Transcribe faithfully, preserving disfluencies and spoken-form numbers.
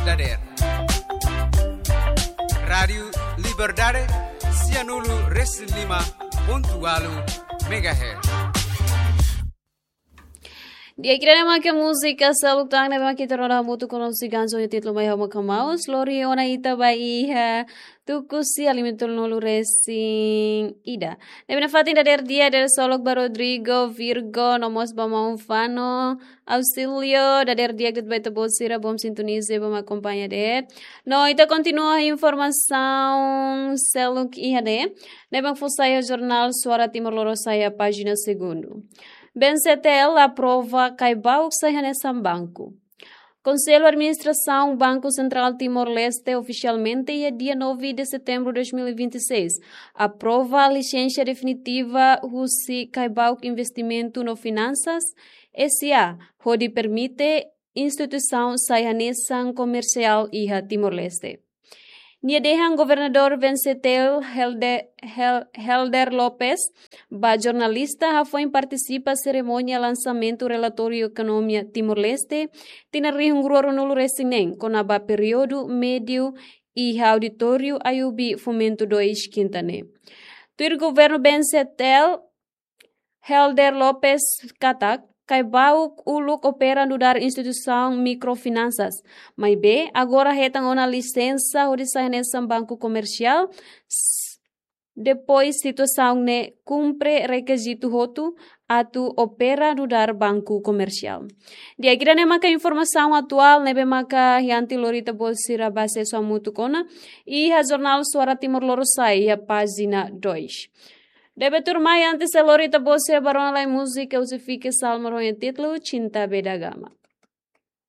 dadeer. Rádiu Liberdade, sianulu resin lima pontu walu megahertz. Di'ak, ida-ne'e maka múzika seluk tan ne'ebé mak ita rona hamutuk ho nossos gigantes ho títulu Mai Ha'u Mak Hamaus, lori ona ita ba iha tuku sia lima tolunulu resin ida. Ne'ebé nafatin dadeer di'ak, dadeer solok ba Rodrigo, Virgo, no mós ba maun Fano, Auxílio, dadeer di'ak de'it ba ita-boot sira, bom sintoniza, bom akompaña de'it. No ita kontinua informasaun seluk iha ne'e, ne'ebé mak fó sai iha jornál Suara Timor Lorosa'e iha pájina segundu. B N C T L aprova Caibauk sai hanesan banku. Konsellu Administrasaun Banku Sentrál Timor-Leste ofisialmente iha dia nove de setembro de dois mil e vinte e seis aprova lisensa definitiva husi Caibauk Investimentu no Finansas S A, hodi permite instituisaun sai hanesan komersiál iha Timor-Leste. Nia dehan Governadór B N C T L Helde-, Hel-, Helder Lopes ba jornalista hafoin partisipa serimónia lansamentu relatóriu ekonomia Timor-Leste tinan rihun rua ruanulu resin neen, kona-ba períodu médiu iha auditóriu Ayubi Fomento dois, kinta ne'e. Tuir governu B N C T L, Helder Lopes katak, Caibauk uluk opera nu'udar instituisaun mikrofinansas. Maibé, agora hetan ona lisensa hodi sai hanesan banku komersiál, s-, depois situasaun ne'e kumpre rekizitu hotu atu opera nu'udar banku komersiál. Di'ak, ida-ne'e maka informasaun atuál ne'ebé maka ha'u hato'o lori ita-boot sira ba asesu hamutuk ona iha jornál Suara Timor Lorosa'e iha pájina dois. Ne'ebé tuirmai, antes de lori ita-boot sira ba rona lai múzika husi Fike Salmo ho títulu Cinta Beda Agama.